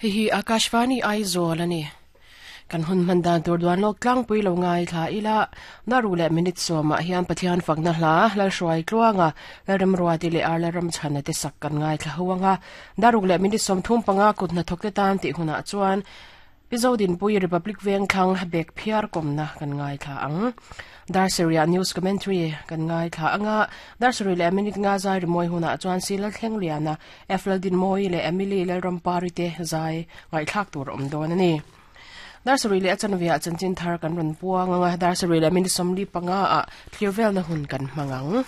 Hei hi Akashvani Aizawl a ni. Kan hun hman dan tur duan lawk tlangpui lo ngaithla ila, Naru leh minute sawmah hian Pathian fakna hla, Lalhruai Tluanga, Lalremruati leh Ar Lalramchhana te sak kan ngaithla ho anga, Daruk leh minute 35 kut hnathawkte tan tih hunah chuan Pi Zodinpui Republic Vengthlang bek phiar kawmna kan ngaithla ang. Darseria News Commentary kan ngaithla anga, Darseria leh minute nga zai rimawi hunah chuan Sila Thlengliana, F Laldinmawii leh Emily Lalrampari te zai ngaihthlak tur a awm dawn a ni. Darseria leh a chanveah chanchin thar kan rawn puang anga, Darseria leh minute 45 ah thlir velna hun kan hmang ang.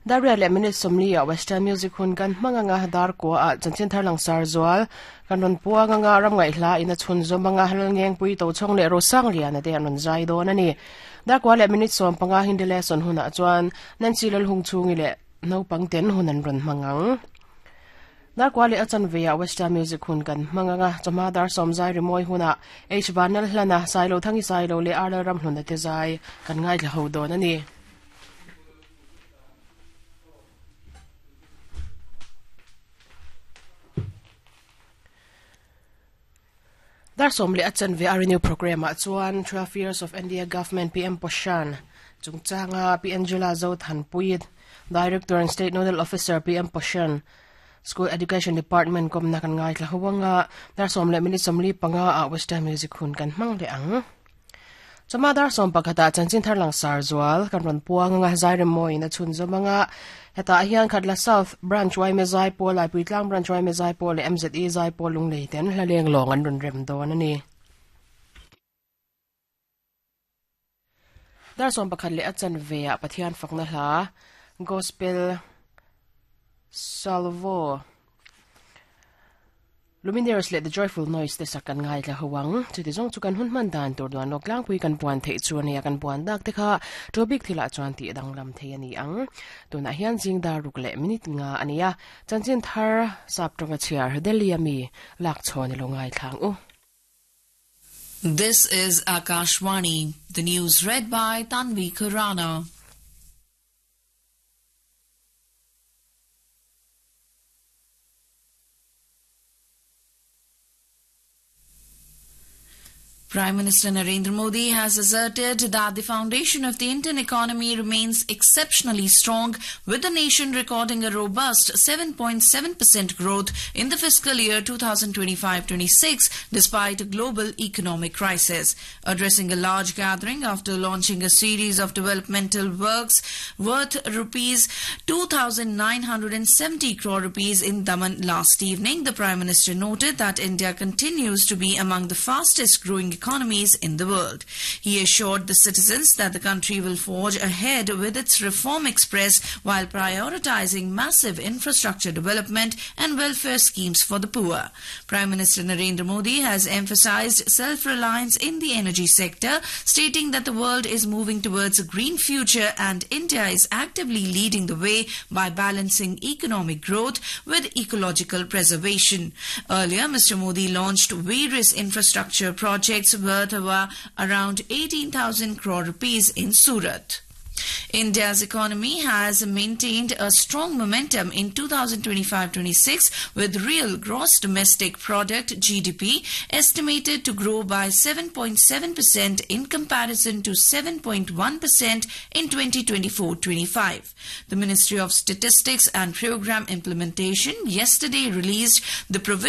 Daria leh minute 40 ah Western Music hun kan hmang anga, Darkua ah chanchin thar langsar zual kan rawn puang anga, ram ngaihhla in a chhun zawm anga, Lalngengpui Tochhawng leh Rosangliana te an rawn zai dawn a ni. Darkua leh minute 15 Hindi lesson hunah chuan Nancy Lalhungchhungi leh naupang ten hun an rawn hmang ang. Darkua leh a chanve ah Western Music hun kan hmang anga, chawhma dar sawm zai rimawi hunah H Vanlalhlana, Sailo Thangi Sailo leh R Lalramhluna te zai kan ngaithla ho dawn a ni. Dar sawm leh a chanve a renew program ah chuan 12 years of India Government PM Poshan chungchanga Pi Angela Zothanpui, Director and State Nodal Officer PM Poshan, School Education Department kawmna kan ngaithla ho anga, dar sawm leh minute 45 ah Western Music hun kan hmang leh ang. Chawhma dar 11 ah chanchin thar langsar zual kan rawn puang anga Zairemmawiin a chhun zawm anga hetah hian Khatla South Branch Yma Zaipawl, Laipuitlang Branch Yma Zaipawl leh MZE Zaipawl Lunglei ten hla leng lawng an rawn rem dawn a ni. Dar 11 leh a chanve ah Pathian fakna hla Gospel Salvo Lumineers leh The Joyful Noise te sak kan ngaithla ho ang. Chuti zawng chu kan hun hman dan tur duan lawk tlangpui kan puan theih chu a nia, kan puan dak te kha to bik thilah chuan tih danglam thei a ni ang. Tunah hian zing dar ruk leh minute nga a ni a, chanchin thar sap tawnga chhiar Delhi a mi lak chhawn i lo ngaithla ang u. This is Akashvani, the news read by Tanvi Khurana. Prime Minister Narendra Modi has asserted that the foundation of the Indian economy remains exceptionally strong, with the nation recording a robust 7.7% growth in the fiscal year 2025-26 despite a global economic crisis. Addressing a large gathering after launching a series of developmental works worth rupees 2,970 crore rupees in Daman last evening, the Prime Minister noted that India continues to be among the fastest growing economies in the world. He assured the citizens that the country will forge ahead with its reform express while prioritizing massive infrastructure development and welfare schemes for the poor. Prime Minister Narendra Modi has emphasized self-reliance in the energy sector, stating that the world is moving towards a green future and India is actively leading the way by balancing economic growth with ecological preservation. Earlier, Mr. Modi launched various infrastructure projects worth around 18,000 crore rupees in Surat. India's economy has maintained a strong momentum in 2025-26 with real gross domestic product GDP estimated to grow by 7.7% in comparison to 7.1% in 2024-25. The Ministry of Statistics and Program Implementation yesterday released the provision